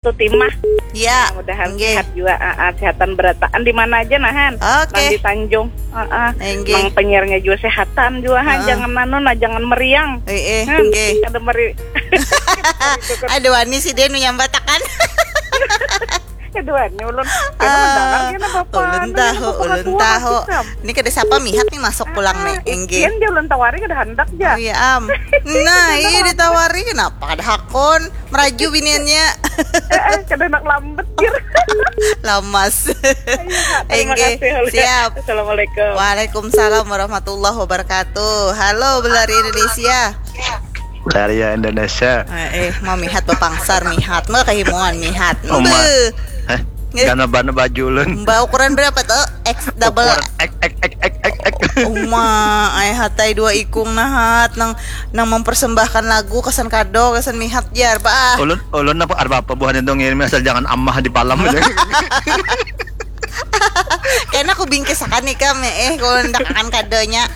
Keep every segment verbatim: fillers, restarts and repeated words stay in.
tu timah. Ya. Mudahan Nggih. Sehat juga, ah, ah, sehatan berataan di mana aja nah, Han. Oke. Nang di Tanjung, ah, ah. Nggih. Nang penyiarnya juga sehatan juga, Han. Ah. Jangan anu nah, jangan meriang. Eh, eh, Han, nggih. Kada meri. Aduh, ani si dia nu nyambatakan. Keduanya ulun. Kada Ah, mendengar kena bapak. ulun Anu, tahu, kena ulun bapak tahu. Kam. Ini kada siapa mihat nih masuk pulang nih, inggih. Ikin dia ulun tawari kada handak Oh ja. Iya am. Nah, iya ditawari kenapa kada hakon? Meraju biniannya. Eh, eh, kada handak lambat kir. Lamas. Terima Inggih. kasih. Siap. Assalamualaikum. Waalaikumsalam warahmatullahi wabarakatuh. Halo, Belari Indonesia. Dari Indonesia. Eh, eh, mau mihat bapangsar mihat, mau kehimungan mihat. Uma. Embeh. Hah? Nggih. Gana bana baju ulun. Mbak ukuran berapa tuh? X double. Ukuran X X X X X X. Uma, ai hatai dua ikung nahat nang nang mempersembahkan lagu kesan kado kesan mihat jar bah. Ulun ulun apa ada apa buhan itu ngirim asal jangan amah di palam aja. Kena aku bingkisakan nih kam eh kalau ndak akan kadonya.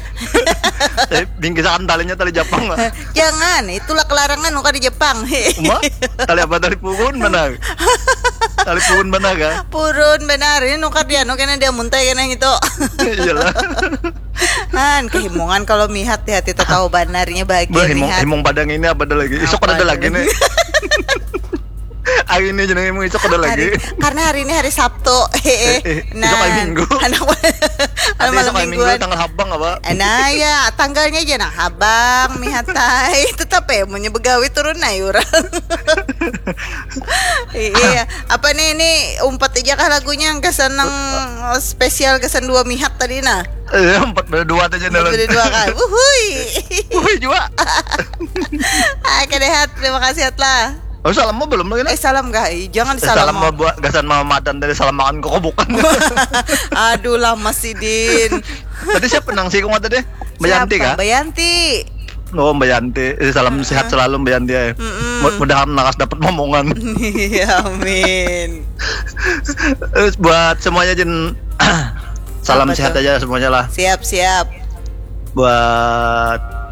Eh, bingkisakan talinya tali Jepang lah. Jangan, itulah kelarangan nuka di Jepang. Uma, tali apa tali purun mana? Tali purun mana kah? Purun benar ini nuka dia nuka dia muntai kena gitu. Iyalah. Han, kehimungan kalau mihat di hati tahu banarnya bahagia Bah, himung, mihat. Himung Padang ini apa ada lagi? Isok Apa ada ada? Lagi nih. Hari ini jenenge himung isok ada lagi. Hari, karena hari ini hari Sabtu. Heeh. Eh, eh, Nah, isok hari Minggu. Anak Ada malam isok hari Minggu mingguan. Tanggal habang apa? Nah ya, tanggalnya aja nah habang mihatai. Tetap ya, munnya begawi turun nah orang. Iya, apa nih ini umpat aja kah lagunya gasan nang spesial gasan dua mihat tadi nah. Eh, empat pada dua aja dalam. Beda dua kali. Wuhui. Wih juga. Ah, kedehat, terima kasih Atla. Oh, salam mau belum lagi? Eh salam kah? Ih, jangan Eh, salam salam. Mau buat gasan mau madan dari salam makan kok bukan. Aduh lama sidin. Tadi siapa nang sih kau tadi? Bayanti Siapa? Kah? Bayanti. Oh, Bayanti. Eh, salam sehat selalu Bayanti ya. Mm-mm. Mud- Mudahan lakas dapat momongan. Iya, amin. Eh, buat semuanya Jin salam Apa sehat tuh? Aja semuanya lah. Siap siap. Buat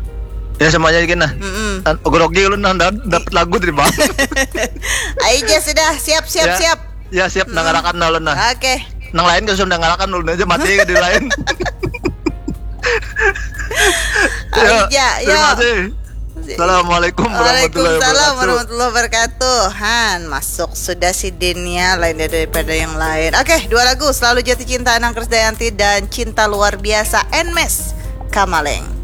ya semuanya gini nah. Mm-mm. Dan grogi lu nah dapat lagu dari bang. Ayo aja sudah siap siap Ya. Siap. Ya siap dengarakan nah ulun nah. Oke. Nang lain kalau sudah dengarakan ulun aja mati di lain. Ayo aja Terima ya. Kasih. Assalamualaikum warahmatullahi Waalaikumsalam wabarakatuh. Warahmatullahi wabarakatuh. Han, masuk sudah sidinnya lain daripada yang lain. Oke, dua lagu Selalu Jatuh Cinta Anang Krisdayanti dan Cinta Luar Biasa Nmes Kamaleng.